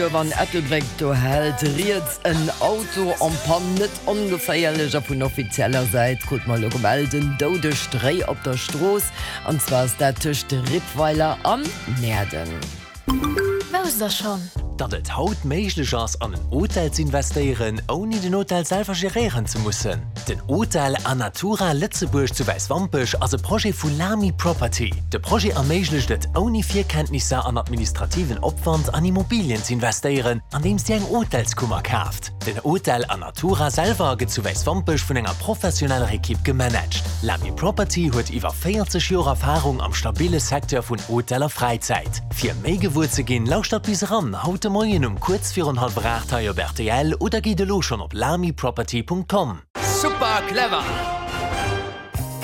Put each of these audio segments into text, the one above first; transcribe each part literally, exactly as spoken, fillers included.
An Ettelbréck, do hält riets en Auto en panne, net ongeféierlech a vun offizieller Säit krute mer elo gemellt, en doudegt Réi op der Strooss, an zwar ass dat tëscht Rippweiler an Näerden. Wousst der schonn? Datt et haut méiglech ass an en Hotel z'investéieren, ouni den Hotel selwer geréieren ze mussen? Den Hotel Anatura Lëtzebuerg zu Wäiswampech ass e Projet vu Lamy Property. De Projet erméiglecht et, ouni Virkenntnisser an administrativen Opwand an Immobilien z'investéieren, andeems Dir eng Hotelskummer kaaft. Den Hotel Anatura selwer gëtt zu Wäiswampech vun enger professioneller Ekipp gemanagt. Lamy Property huet iwwer véierzeg Joer Erfarung am stabille Secteur vun Hotel a Fräizäit. Fir méi gewuer ze ginn, lauschtert bis eran haut de Moien um kuerz virun hallwer aacht hei op rtl oder gitt elo schonn op lamyproperty.com. Super clever!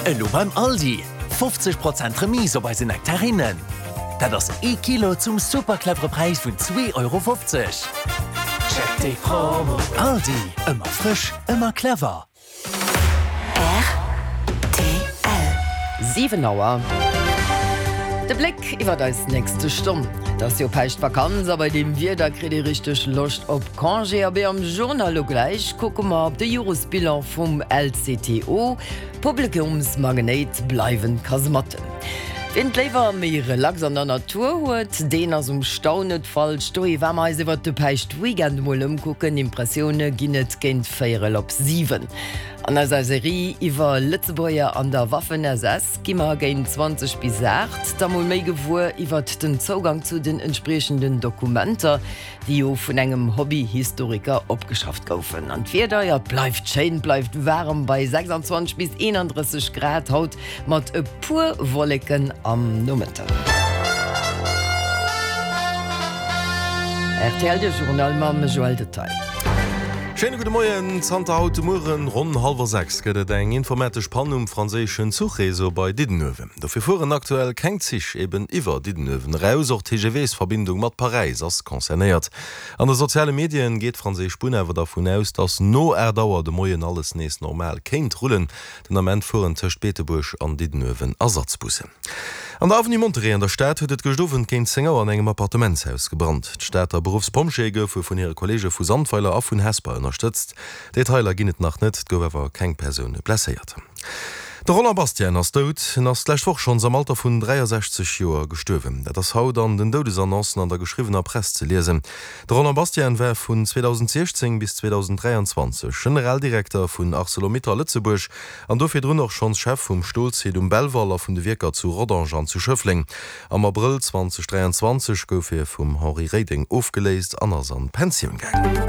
Elo beim Aldi, fofzeg Prozent Remise op eise Nektarinnen. Dat ass ee Kilo zum super clevere Präis vun zwee Euro fofzeg. Check déi Promo! Aldi, ëmmer frësch, ëmmer clever! Rtl. Siwen Auer. De Bléck iwwer eis nächste Stonn. Et ass jo Päischtvakanz a bei deem Wieder kritt ee richteg Loscht op Congé. Abee am Journal elo gläich kucke mer op de Joresbilan vum L C T O. Publikumsmagnéit bleiwen d'Kasematten. Wien et léiwer méi relax an der Natur huet, deen ass um Stau net falsch. Dohi war mer eis iwwert de Päischtweekend emol ëmkucken. Impressioune ginn et géint véierel op siwen. An eiser Serie iwwer Lëtzebuerger an der Waffen-S S gi mer géint zwanzeg bis aacht da mol méi gewuer iwwert den Zougang zu den entspriechenden Dokumenter, déi jo vun engem Hobby-Historiker opgeschafft goufen. An d'Wieder, jo, et bleift schéin, et bleift waarem bei sechsandzwanzeg bis eenandrësseg Grad haut mat e puer Wolleken am Nomëtten. Rtl, de Journal mam Joël Detail. Schéine gudde Moien. Zanter haut de Mueren ronn hallwer sechs gëtt et eng informatesch Pann um franséischen Zuchreseau bei Diddenuewen. Dofir fueren aktuell keng Zich eben iwwer Diddenuewen eraus. Och d'T G Vs-Verbindung mat Paräis ass concernéiert. An de soziale Medien geet d'franséisch Bunn awer dervun aus, datt no aacht Auer de Moien alles nees normal kéint rullen. Den Ament fueren tëscht Beetebuerg an Diddenuewen Ersatzbussen. An der Avenue Monterey an der Stad huet et gëscht Owend géint zéng Auer an engem Appartementshaus gebrannt. D'Stater Beruffspompjeeë goufe vun hire Kolleege vu Sandweiler a vun Hesper ënnerstëtzt. Detailer ginn et nach net, et gouf awer keng Persoun blesséiert. De Roland Bastian ass dout. En ass d'lescht Woch schonns am Alter vun dräiasechzeg Joer gestuerwen. Dat ass haut an den Doudesannoncen an der geschriwwener Press ze liesen. De Roland Bastian war vun zweedausendsiechzéng bis zweedausendräianzwanzeg Generaldirekter vun Arcelor-Mittal Lëtzebuerg an do virdrun och schonns Chef vum Stolsite um Belval a vun de Wierker zu Rodange an zu Schëffleng. Am Abrëll zweedausendräianzwanzeg gouf hie vum Henri Reding ofgeléist an ass an d'Pensioun gaangen.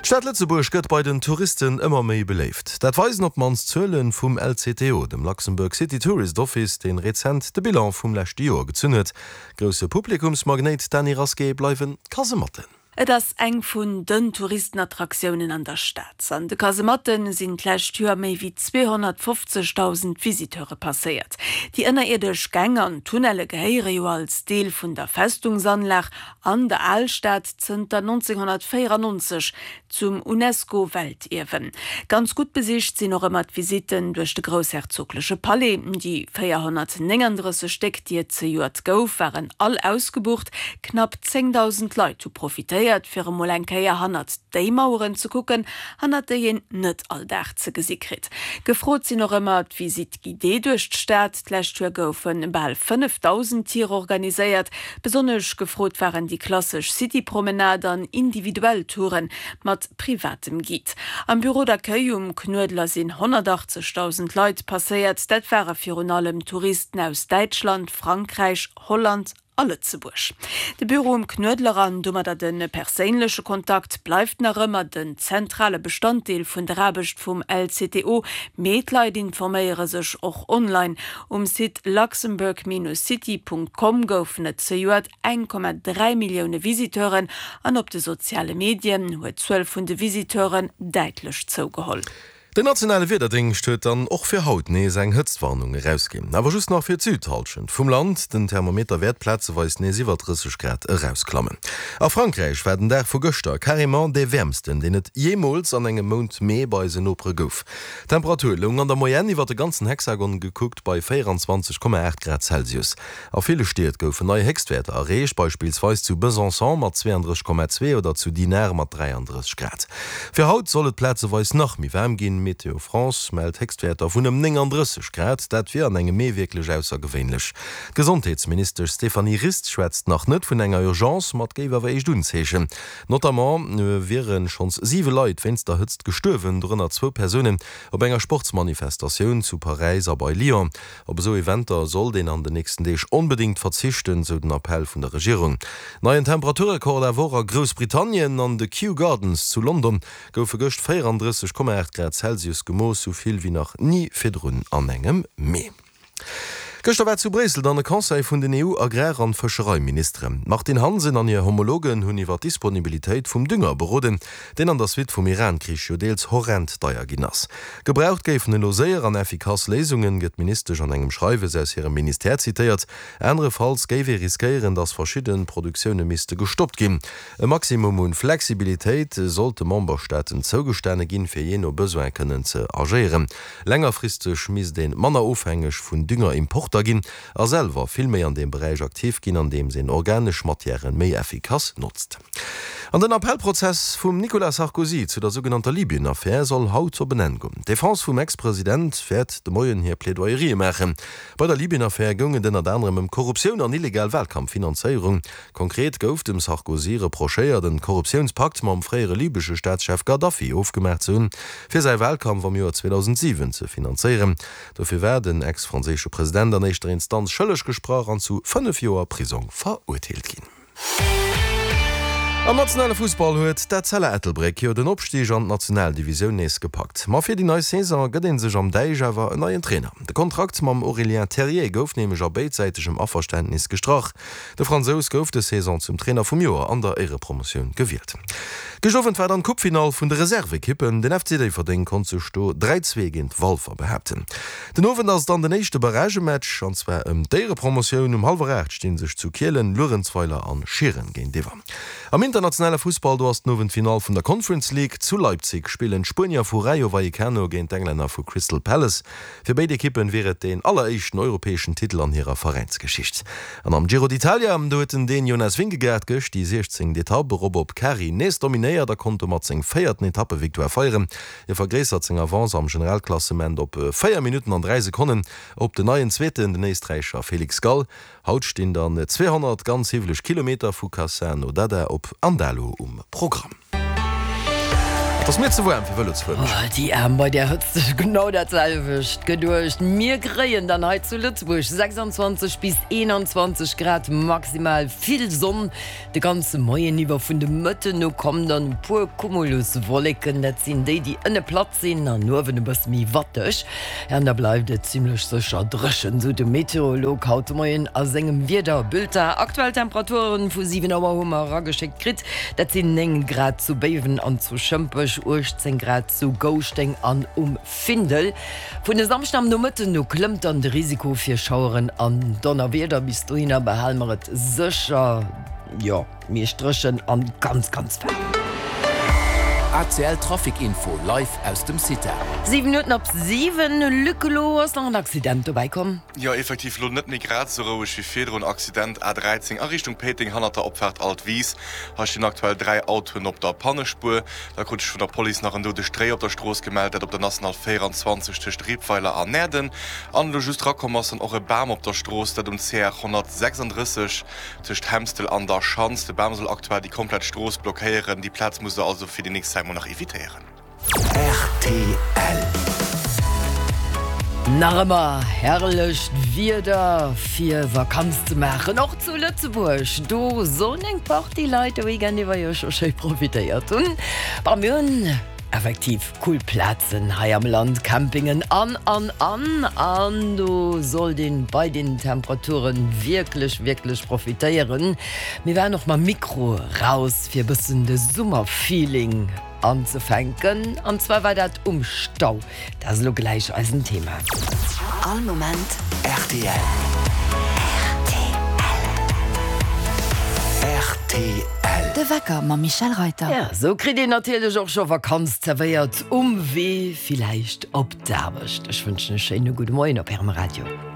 D'Stad Lëtzebuerg gëtt bei den Touristen ëmmer méi beléift. Dat weisen op d'mannst d'Zuele vum L C T O, dem Luxembourg City Tourist Office, deen rezent de Bilan vum leschte Joer gezunn huet. Grousse Publikumsmagnéit, Dany Rasqué, bleiwen d'Kasematten. Et ass eng vun den Touristenattraktiounen an der Stad. An de Kasematte sinn d'lescht Joer méi wéi zweehonnertfofzegdausend Visiteure passéiert. Déi ënnerierdesch Gäng an Tunnelle gehéiere jo als Deel vun der Festungsanlag an der Alstad zënter nonzénghonnertvéierannonzeg zum UNESCO-Weltierwen. Ganz gutt besicht sinn och ëmmer d'Visitten duerch de groussherzogleche Palais. Déi véierhonnertnénganddrësseg Stéck, déi et zejoert gouf, waren all ausgebucht. Knapp zéngdausend Leit hu profitéiert, fir emol eng Kéier hannert déi Maueren ze kucken, hannert déi een net all Dag ze gesi kritt. Gefrot sinn och ëmmer d'Visite guidée duerch d'Stad. D'lescht Joer goufe bal fënnefdausend Tier organiséiert. Besonnesch gefrot waren déi klassesch City-Promenade an individuell Touren mat privatem Guide. Am Bureau d'accueil um Knuedler sinn honnertachtzegdausend Leit passéiert. Dat ware virun allem Touristen aus Däitschland, Frankräich, Holland a Lëtzebuerg. De Büro um Knuedler an domadder de perséinleche Kontakt bleift nach ëmmer den zentrale Bestanddeel vun der Aarbecht vum L C T O. Mee d'Leit informéiere sech och online. Um Site luxembourg Bindestrich city Punkt com goufen et zejoert eng Komma dräi Millioune Visiteuren an op de soziale Medien huet d'Zuel vun de Visiteuren däitlech zougeholl. Den nationale Wiederdéngscht huet dann och fir haut nees eng Hëtztwarnung erausginn, awer just nach fir d'Südhallschent vum Land. Den Thermometer wäert plazeweis nees iwwer drësseg Grad erausklammen. A Frankräich war den Dag vu gëschter carrément dee wäermsten, deen et jeemools an engem Mount Mee bei eisen Nopere gouf. D'Temperatur loung an der Moyenne iwwer de ganzen Hexagon gekuckt bei véierundzwanzeg Komma aacht Grad Celsius. A ville Stied goufen nei Héchstwäerter erreecht, beispillsweis zu Besançon mat zweeandrësseg Komma zwee oder zu Dinard mat dräiandrësseg Grad. Fir haut soll et plazeweis nach méi waarm ginn, Météo France mellt Héchstwäerter vun ëm néngandrësseg Grad, dat wier an engem Mee wierklech aussergewéinlech. D'Gesondheetsministesch Stéphanie Rist schwätzt nach net vun enger Urgence, ma et géif awer éischt Unzeechen. Notamment wiere schonns siwe Leit wéinst der Hëtzt gestuerwen, dorënner zwou Persounen op enger Sportsmanifestatioun zu Paräis a bei Lyon. Op esou Eventer sollt een an den nächsten Deeg onbedéngt verzichten, sou den Appell vun der Regierung. Neien Temperaturrekord awer och a Groussbritannien, An de Kew Gardens zu London goufe gëscht véierandrësseg Komma aacht Grad Celsius gemooss, sou vill wéi nach ni virdrun an engem Mee. Gëschter war zu Bréissel dann e Conseil vun den E U-Agrar an Fëschereiministeren. D'Martine Hansen an hir Homologen hunn iwwer d'Disponibilitéit vum Dünger beroden, deen an der Suite vum Iran-Krich jo deels horrend deier ginn ass. Gebraucht géifen elo séier an effikass Léisungen, gëtt d'Ministesch an engem Schreiwes aus hirem Ministère zitéiert. Anerefalls géif ee riskéieren, datt verschidde Produktioune misste gestoppt ginn. E Maximum un Flexibilitéit sollt de Memberstaaten zougestane ginn, fir jee no Besoin kënnen ze agéieren. Längerfristeg misst ee manner ofhängeg vun Düngerimporter ginn a selwer vill méi an deem Beräich aktiv ginn, andeems een organesch Matièren méi effikass notzt. An den Appellprozess vum Nicolas Sarkozy zu der sougenannter Libyen-Affär soll haut op en Enn goen. D'Defense vum Ex-President wäert de Moien hir Plaidoyerië maachen. Bei der Libyen-Affär goung et ënnert anerem ëm Korruptioun an illegal Wahlkampffinanzéierung. Konkret gouf dem Sarkozy reprochéiert, en Korruptiounspakt mam fréiere libesche Staatschef Gaddafi ofgemaach ze hunn, fir säi Wahlkampf am Joer zweedausendsiwen ze finanzéieren. Dofir war den ex-franséische President an éischter Instanz schëlleg gesprach an zu fënnef Joer Prisong verurteelt ginn. Am nationale Fussball huet d'Etzella Ettelbréck jo den Opstig an d'Nationaldivisioun nees gepackt. Ma fir déi nei Saison gëtt ee sech am Däich awer en neien Trainer. De Kontrakt mam Aurélien Terrier gouf nämlech a béidsäitegem Averständnis gestrach. De Fransous gouf dës Saison zum Trainer vum Joer an der Éierepromotioun gewielt. Gëscht Owend war dann d'Coupefinall vun de Reservekippen. Den F C Déifferdeng konnt sech do dräi, zwee géint Walfer behaapten. Den Owend ass dann den éischte Barragematch, an zwar ëm d'Éierepromotioun. Um hallwer aacht sti sech zu Kielen Luerenzweiler an Schieren géintiwwer. Am internationale Fussball, do ass den Owend d'Finall vun der Conference League. Zu Leipzig spillen d'Spuenier vu Rayo Vallecano géint d'Englänner vu Crystal Palace. Fir béid Ekippen wier et deen alleréischten europäeschen Titel an hirer Veräinsgeschicht. An am Giro d'Italia, do huet den Dän Jonas Vingegaard gëscht déi siechzéngt Etapp erop op Cari nees dominéiert a konnt domat seng véierten Etappevictoire feieren. Hie vergréissert seng Avance am Generalklassement op véier Minutten an dräi Sekonnen op den neien Zweeten, den Éisträicher Felix Gall. Haut stinn dann zweehonnert ganz hiwweleg Kilometer vu Cassano d'Adda op Andalo um Programm. Et ass mir ze waarm fir Vëlo ze fueren. Oh, déi Aarm, bei där Hëtzt ech genau dat selwecht geduecht. Mir kréien dann hei zu Lëtzebuerg sechsundzwanzeg bis eenanzwanzeg Grad maximal, vill Sonn de ganze Moien iwwer. Vun de Mëtten u kommen dann e puer Cumuluswolleken, dat sinn déi, déi ënne platt sinn an uewen e bësse méi watteg. An da bleift et zimmlech sécher dréchen, sou de Meteorolog haut de Moien a sengem Wiederbulletin. Aktuell Temperaturen vu siwen Auer hu mer erageschéckt kritt, dat sinn néng Grad zu Béiwen an zu Schëmpech, uechtzéng Grad zu Gouschteng an um Findel. Vun e Samschden am Nomëtten u klëmmt dann de Risiko fir Schaueren an Donnerwieder. Bis dohinner behale mer et sécher, jo, meescht dréchen an ganz, ganz waarm. A C L Trafic Info live aus dem CITA. Siwen Minutten op siwen, Luc, elo ass nach en Accident dobäi komm. Jo, effektiv lo net méi grad sou roueg wéi virdrun. Accident A dräizéng a Richtung Péiteng hannert der Opfaart Altwis. Hei stinn aktuell dräi Autoen op der Pannespuer. Da krut ech vun der Police nach en doudegt Réi op der Strooss gemellt, dat op der National véierundzwanzeg tëscht Rippweiler an Näerden. An elo just rakomm ass dann och e Bam op der Strooss, dat um C R honnertsechsandrësseg tëscht Hemstel an der Schanz. De Bam soll aktuell déi komplett Strooss blockéieren. Déi Plaz musst der also fir déi nächst Zäit mol nach evitéieren. R T L. Nach ëmmer herrlecht Wieder fir Vakanz ze maachen, och zu Lëtzebuerg. Do sollen eng Partie Leit de Weekend iwwer jo scho schéi profitéiert hunn. Bon, mir hunn effektiv cool Plazen hei am Land, Campingen an an an an do sollt een bei den Temperaturen wierklech wierklech profitéieren. Mir waren och mam Mikro raus fir e bëssen de Summerfeeling anzefänken an zwar war dat um Stau. Dat ass elo gläich eisen Thema. All Moment rtl. Rtl. De Wecker mam Michèle Reyter. Ja, sou kritt een natierlech och scho Vakanz zerwéiert um Wee villäicht op d'Aarbecht. Ech wënschen e schéine gudde Moien op Ärem Radio.